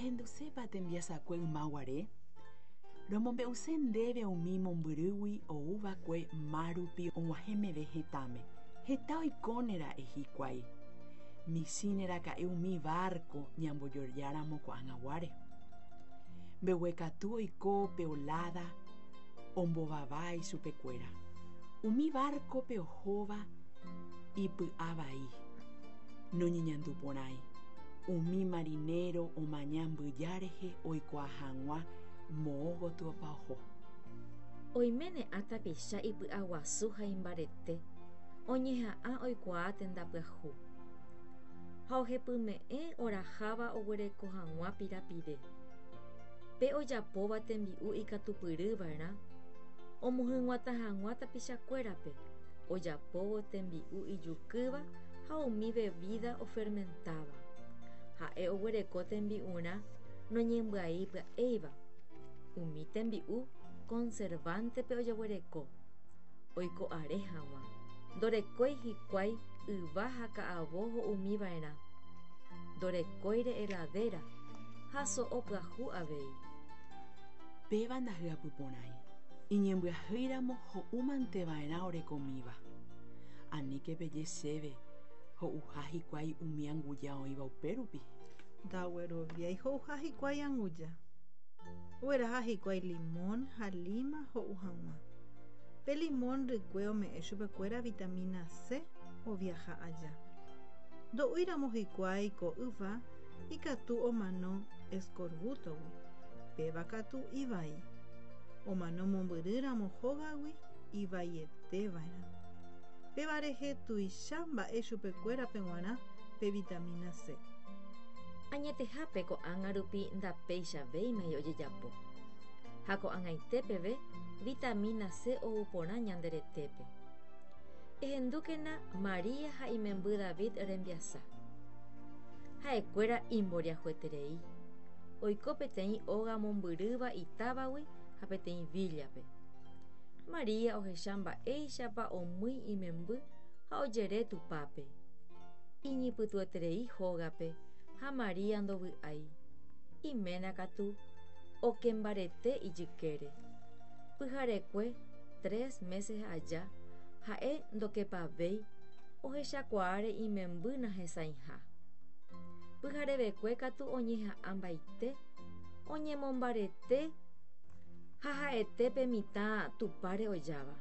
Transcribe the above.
Rehendusépa tembiasakue ymaguare? Romombe'use ndéve umi mombyrýgui ouva'ekue mar rupi og̃uahẽ meve hetãme. Heta oikónera'e hikuái. Michĩneraka'e umi várko ñambojojáramo ko'ag̃aguáre. Mbeguekatu oiko pe oláda ombovava ichupekuéra. Umi várkope ohóva ipy'avai, noñeñanduporãi. Umi marinéro omaña mbyja rehe oikuaa hag̃ua moõ gotyopa oho. Oiméne ã tapicha ipy'aguasu ha imbarete, oñeha'ã oikuaa tenda pyahu. Ha ohepyme'ẽ oraháva oguereko hag̃ua pirapire. Pe ojapóva tembi'u ikatupyryva'erã omohyg̃uatã hag̃ua tapichakuérape, ojapóvo tembi'u ijukýva ha umi vevída ofermentáva. Ha'e oguereko tembi'urã noñembyai pya'éiva. Umi tembi'u conservante-pe ojeguereko, oiko are hag̃ua. Ndorekói hikuái yva ha ka'avo ho'umiva'erã. Ndorekóire heladera ha so'o pyahu avei. Péva ndahyapyporãi. Iñembyahýiramo ho'umanteva'erã orekomíva. Aníke peje chéve ho'uha hikuái umi anguja oĩva upérupi. Ndagueroviái ho'uha hikuái anguja. Ogueraha hikuái limón ha líma ho'u hag̃ua. Pe limón rykue ome'ẽ chupekuéra vitamina C oviaha aja. Ndo'úiramo hikuái ko yva ikatu omano escorbútogui, péva katu ivai. Omano mombyrýramo hógagui ivaieteva'erã. Péva rehe tuicha mba'e chupekuérape g̃uarã pe vitamina C. Añetehápe ko'ág̃a rupi ndapeichavéimai ojejapo. Ha ko'ag̃aite peve vitamina C ou porã ñande retépe. Ehendúkena María ha imemby David rembiasa. Ha'ekuéra imboriahueterei. Oiko peteĩ óga mombyrýva itávagui ha peteĩ víllape. María ohecha mba'éichapa omýi imemby ha ojere tupápe. Iñypytũeterei hógape ha María ndovy'ái. Iména katu okembarete ijykére. Pyharekue tres meses aja ha'e ndokepavéi ohechakuaáre imemby nahesãiha. Pyharevekue katu oñeha'ãmbaite, oñemombarete ha ha'ete pe mitã tupáre ojáva.